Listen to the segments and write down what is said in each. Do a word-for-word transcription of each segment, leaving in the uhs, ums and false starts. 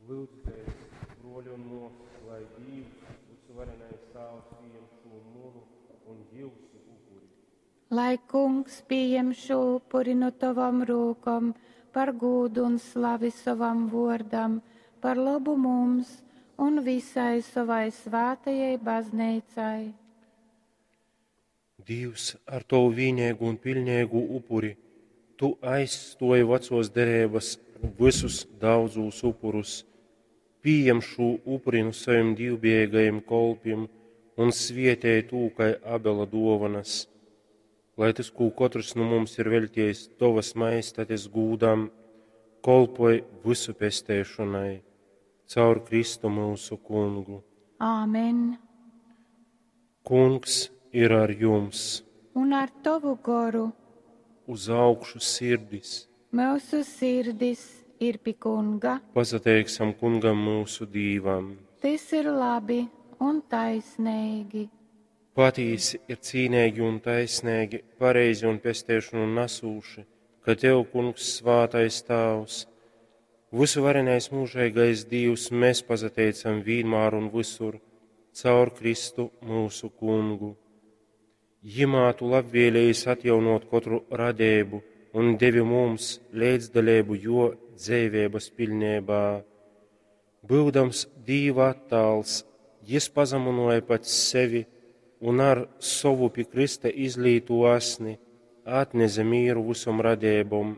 Lyudzitēs, bruoļi un muosys, lai Dīvs, Vysuvarenais Tāvs, pījem šū munu un jiusu upuri. Lai Kungs pījem šū upuri nu tovom rūkom par gūdu un slavi sovam vuordam, par lobu mums un visai sovai svātajai bazneicai. Dīvs, ar tovu vīneigū un piļneigū upuri tu aizstuoji vacuos dereibys vysus daudzūs upurus. Pījem šū upuri nu sovim dīvbijeigajim kolpim un svietej tū kai Abela duovanas, lai tys, kū kotrs nu mums ir veļtiejis tovas majestates gūdam, kolpoj vysu pesteišonai. Caur Kristu myusu Kungu. Āmen. Kungs ir ar jums. Un ar tovu goru. Uz augšu sirdis. Myusu sirdis ir pi Kunga. Pasateiksim Kungam myusu Dīvam. Tys ir labi un taisneigi. Patīsi ir cīneigi un taisneigi, pareizi un pesteišonu nasūši, ka Tev, Kungs, svātais Tāvs, vysuvarenais mūžeigais Dīvs, mēs pasateicam vīnmār un visur, caur Kristu myusu Kungu. Jimā tu labvēlējies atjaunot kotru radību un devi mums līdzdaļību jo dzeiveibas piļneibā. Būdams Dīva attāls, jis pazamunoja pats sevi un ar sovu pi Krista izlīto asni atneze mīru visom radībom.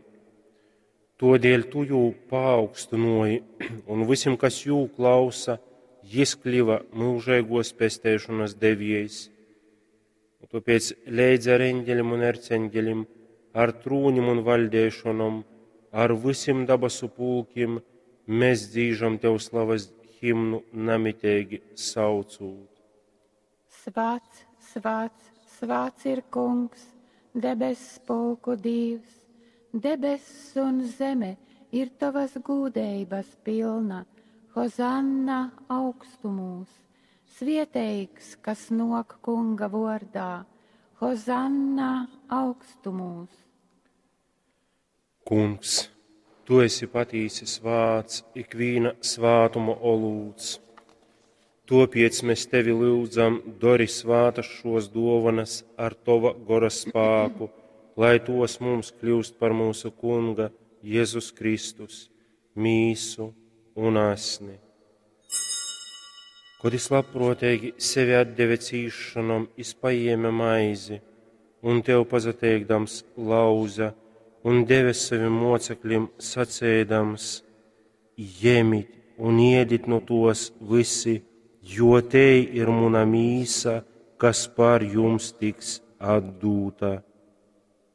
Todēļ tu jū paaugstinoji, un visim, kas jū klausa, jis kļuva mūžīgos pesteišanas deviejs. Un tāpēc leidz ar eņģelim un erceņģelim, ar trūnim un valdēšanom, ar visiem dabasu pulkim, mēs dzīžam tev slavas himnu namitīgi saucūt. Svāts, svāts, svāts ir Kungs, debess pulku Dīvs, debess un zeme ir tavas gūdeibas pilna. Hozanna augstumūs, svieteigs, kas nok Kunga vordā. Hozanna augstumūs. Kungs, tu esi patīsi svāts, ikvīna svātuma olūts. Topiec mēs tevi lūdzam, dori svātas šos dovanas ar tova gora spāku, lai tos mums kļūst par mūsu Kunga Jēzus Kristus, mīsu un asni. Kad es labprātīgi sevi atdeve cīšanom, es paēma maizi, un tev pasateikdams lauza un deve saviem mocekļiem sacēdams: Ņemit un iedit no tos visi, jo te ir muna mīsa, kas par jums tiks atdūta.